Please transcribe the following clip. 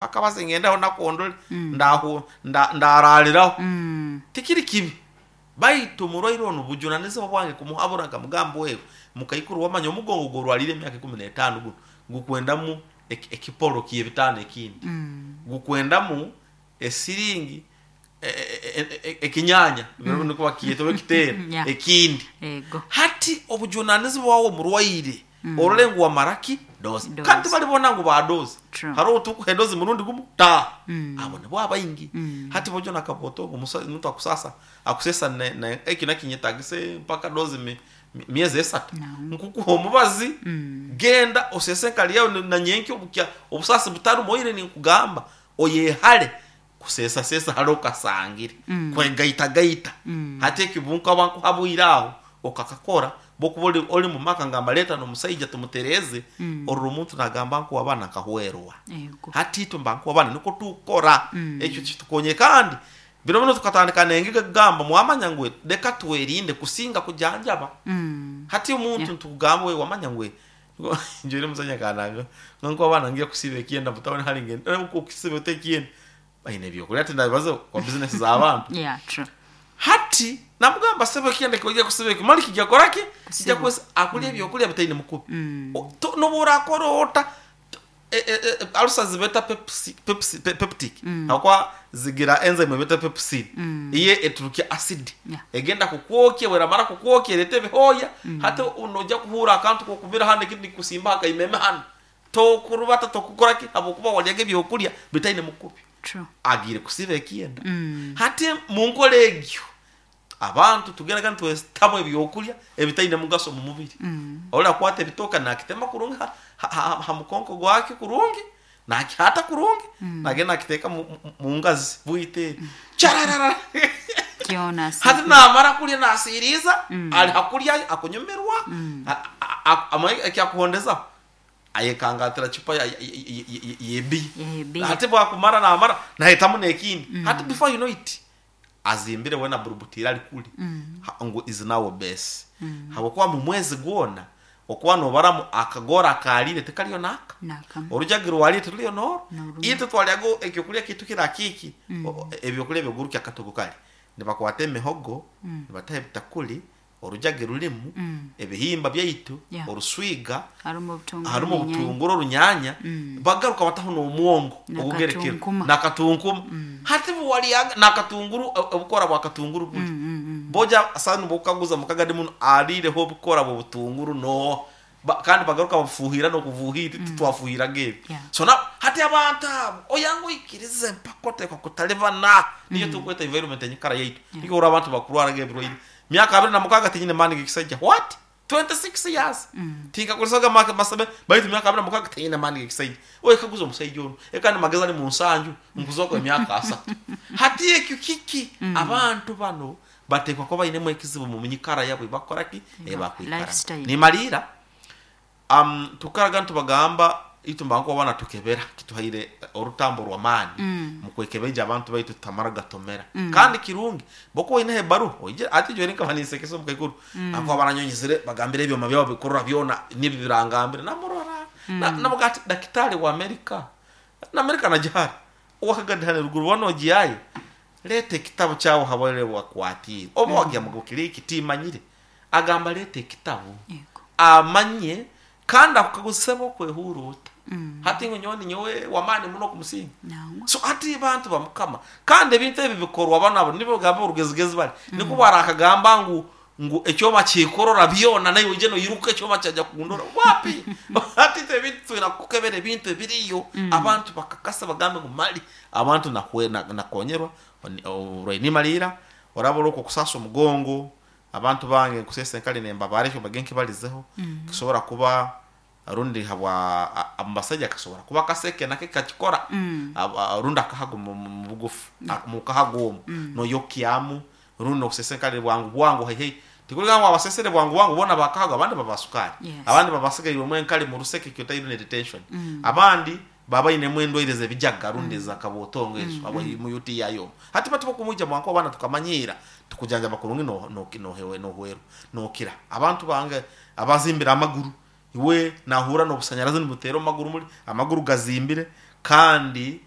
Akabazi ngendaho nakondore ndahu ndarariraho tikiri kibi baitu omurwaire onu bujunanizibwa bwange kumuhabura nkamugamba wewe mukaikuru wamanya omugongo gworwarire emyaka 15 gunu gukwendamu ekiporo kyebitaano ekindi, gukwendamu esiringi ekinyanya nikwo bakyeta oba ekiteera ekindi. Hati obujunanizibwa bwawe omurwaire orore ngu wamara ki dozi. Kandi tibari boona ngu baadozi. Hariho ou turikuha edozi murundi gumwe taaha. Abo nibo abaingi. Hati bojo na kabooto ogu omuntu akusaasa akuseesa eki nakinyetagisa mpaka dozi myezi esatu. Nkukuha omubazi genda oseese enkari yaawe na nyenkya obukya obusaasi butarimu oine ninkugamba oyehare kuseesaseesa hare okasangire, kwegaitagaita. Hati ekyo obu nkaba nkuhabwire aho okakakora, bw'okuba ori ori mu maka ngamba reeta n'omusaija tumutereeze, orora omuntu naagamba ngu abaana nkahwerwa. Ego. Hati itwe mba nkuha abaana nikwo tukukora. Ekyo kitukonye kandi biro binu tukatandika n'engigi ekugamba mwamanya ngu reka twerinde kusinga kujanjaba. Hati omuntu nitukugamba we wamanya ngu njwire omusaija akananga ngu nkuha abaana ngiye kusiiba ekyenda mutawuni hare ngende okusiiba ota ekyenda Baine ebyokurya tindabibazaho kuba bizinesi z'abantu. Yeah, true. Hati namugamba sebo ekyenda kyoija kusiba eki mali kija kukora ki? Kija Kusiba. kwesa akurya ebyokurya bitaine mukubi. O- N'obu orakora ota alusa zibeta pepsi, pepsi, peptic habwokuba zigira enzyme beta pepsin iyo eturukya acid Yeah. egenda kukwokya bweramara kukwokya ereta ebihooya hati noija kuhuura akantu k'okumira hanu ekindi nikusimba aha kaimeme hanu Tokurubata, tokukora ki, habwokuba waryaga ebyokurya bitaine mukubi. True. Agiire kusiba ekyenda. Hati munkora egyo, abantu tugendaga nitwetamu ebyokurya ebitaine mugaso omu mubiri. Ori akwata ebitooke nakitema kurungi ha, ha, ha, ha mukonko gwakyo kurungi, nakihata kurungi, nagenda nakiteeka mu, mu, mu ngazi bwite eri. Kyararara! Kyona Hati asiikire. namara kurya nasiiriiza, ari hakurya akunyumirwa, a- a- a- amanye ekyakuhondezaho, Ayekangatira chupa y'ebiya. Y'ebiya. Hati bwakumara namara nahetamu n'ekindi. Hati before you know it, azimbire weena aburubutiire ari kuri ngu is now obese. Habwokuba mu mwezi gwona okuba nobaramu akagoro akaariire tikariyo naaka. Naakamu. Orujagi rwariire tiruriyo n'oru. N'orumwe. Itwe twaryaga ekyokurya kyaitu kiri kiiki, ebyokurya ebigurukya akatogo kare. Nibakwata emihogo, nibataho ebitakuri, Orujagi rurimu ebihimba byaitu, Yeah. oruswiga, Harimu obutunguru harimu n'enyaanya. obutunguru, orunyanya, bagaruka bataho n'omwongo ogugerekere Nakatunkuma. nakatunkuma. Hati buwaryaga nakatunguru obukora bwa katunguru buri. Boja sani bokukaguza mukagadi muno ariireho obukora bw'obutunguru n'oha? Ba- kandi bagaruka babufuuhira n'okubuuhira titwafuuhiraga ebi. Yeah. So now hati abantu abo oyange oikirize mpaka oteekwa kutalibana niyo turikweta environment enyikara yaitu. Nikyo orora abantu bakurwaraga ebirwaire Myaka 26 tinyine maani g'ekisaija. What? 26 years! Tinkakozesaga ma masame baitu myaka 26 tinyine maani g'ekisaija. Oyekaguze omusaija onu, eka ni magezi ali mu nsanju, nkuzoka emyaka asatu. Hati ekyo kiki? Abantu banu bateekwa kuba bainemu ekizibu mu nyikara yabo ei bakukora ki? Ei bakwikaramu. Lifestyle. Nimaliira. Tukaraga nitubagamba itwe mba nkobu natukebera kituhaire orutambo rw'amaani mu kwekebeija abantu baitu tutamara gatomera. Kandi kirungi bwokuba oineho ebaruha oije hati nyowe nkaba ninsekesa omukaikuru ahakuba baranyonyizire bagambire ebyoma byabo bikurora byona nibyo birangambire namurora namugira ati dakitari wa America na America nagihara owakagadi hanu eruguru boona ogihayo reeta ekitabu kyawe ohabwire wakwatiire oba wagira ngu kiri hiki timanyire Agamba reeta ekitabu amanye kandi akukaguze sebo okwehuura ota. Hati ngu nyowe ninyowe w'amaani muno kumusinga. So hati bantu ba Mukama kandi ebintu ebi bikorwa banu abo nibo bagamba orugezigezi bari nikwo barakagamba ngu ngu ekyoma kyekorora byona naiwe oije noiruka ekyoma kyaija kukundora wapi hati itwe ebintu twine kukebera ebintu ebiriyo abantu bakakasa bagambe ngu mali abantu nakonyerwa oburwaire nimaliira oraba ori okwokusaasa omugongo Abantu bange nkuseesa enkali nembabaara ekyo mbage nkibalizeho kisobora kuba rundi habwa omu basaija kasobora kuba akaseke nako kakikora rundi akahago mubugufu mukahago omu noyokyamu rundi nokuseesa enkali bwangu bwangu haihi tikuriga ngu abasesere bwangu bwangu boona bakahago abandi baba sukari abandi baba basigairwemu enkali muruseke ekyo tweta urinary retention abandi Baba bainemu endwaire z'ebijaga rundi eza kabotongo ezo habwa mu UTI omu. Hati bati bwokumwija mwanka abaana tukamanyiira tukujanjaba kurungi nohwerwa nokira. Abantu bange abazimbire amaguru iwe nahurra n'obusanyarazi nibuteera omu maguru muri, amaguru gazimbire. Kandi.